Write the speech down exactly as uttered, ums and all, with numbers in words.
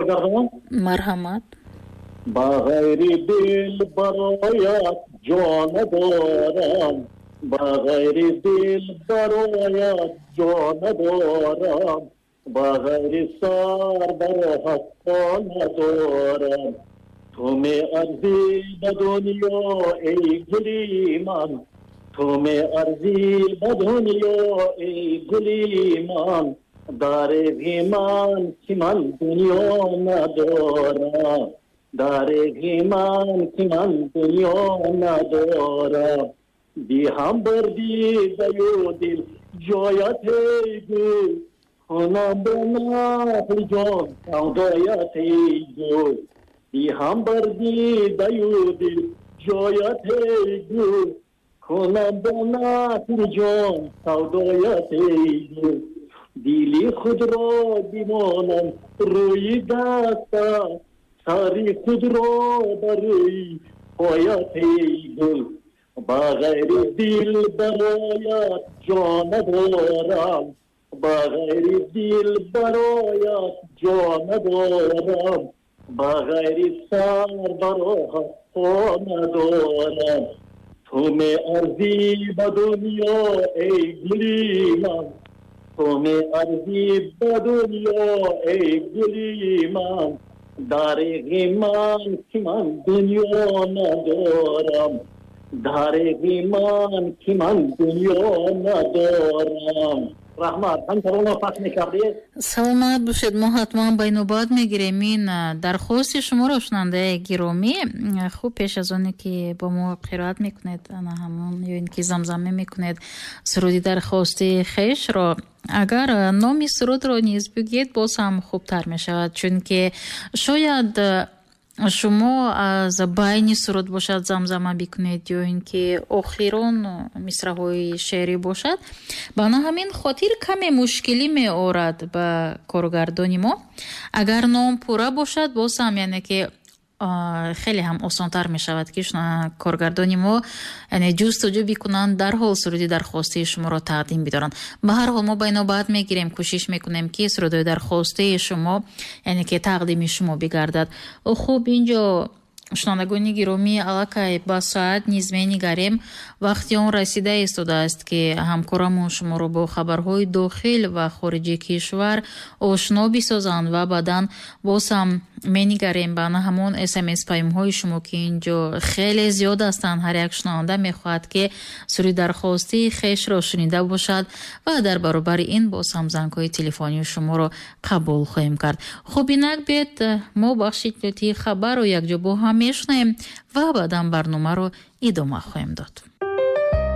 Коргардон. Марҳамат. Ба ғайри дил бароят ҷон надорам, ба ғайри дил бароят ҷон надорам, ба ғайри сар бароҳат по надорам. Ту меарзӣ ба дунё эй гули ман, ту меарзӣ ба дунё эй гули ман, дареғи ман ки ман дунё надорам, дареғи ман ки ман дунё надорам. Диҳам бар дидаю дил ҷоят эй гул, кунам ба нафли ҷон савдоят эй гул. Диҳам бар дидаю дил ҷоят эй гул, кунам ба нафли ҷон савдоят эй гул. Дили худро бимонам рӯи дастат, сари худро бар рӯи поят эй гул. Ба ғайри дил бароят ҷон надорам, ба ғайри дил бароят ҷон надорам, ба ғайри сар бароҳат по надорам. Ту меарзӣ ба дунё эй гули ман, ту меарзӣ ба дунё эй гули ман, дареғи ман ки ман дунё надорам, дареғи ман ки ман дунё надорам. Раҳмат, ҳам таронаро пахш мекардед. Саломат бошед. Мо ҳатман ба инобат мегирем ин дархости шуморо, шунандаи гиромӣ. Хуб, пеш аз оне ки бо мо қироат мекунед ана ҳамон ё ин ки замзама мекунед суруди дархости хешро, агар номи сурудро низ бигӯед, боз ҳам хубтар мешавад, чунки шояд шумо аз байни суруд бошад замзама бикунед ё ин ки охирон мисраҳои шеърӣ бошад. Ба на ҳамин хотир каме мушкилӣ меорад ба коргардони мо. Агар ном пурра бошад, боз ҳам яъне ки хеле ҳам осонтар мешавад ки коргардони мо яъне ҷустуҷӯ бикунанд, дарҳол суруди дархостии шуморо тақдим бидоранд. Ба ҳар ҳол мо ба инобат мегирем, кӯшиш мекунем ки сурудҳои дархостии шумо яъне ки тақдими шумо бигардад. Хуб, инҷо шунавандагони гиромӣ, аллакай ба соат низ менигарем. Вақти он расида истодааст ки ҳамкорамон шуморо бо хабарҳои дохил ва хориҷи кишвар ошно бисозанд ва баъдан боз ҳам менигарем ба на ҳамон смс паёмҳои шумо ки инҷо хеле зиёд ҳастанд. Ҳар як шунаванда мехоҳад ки суруди дархостии хешро шунида бошад ва дар баробари ин боз ҳам зангҳои телефонии шуморо қабул хоҳем кард. Хуб, инак биед мо бахши иттилоотии хабарро якҷо бо ҳам мешунавем ва баъдан барномаро идома хоҳем дод.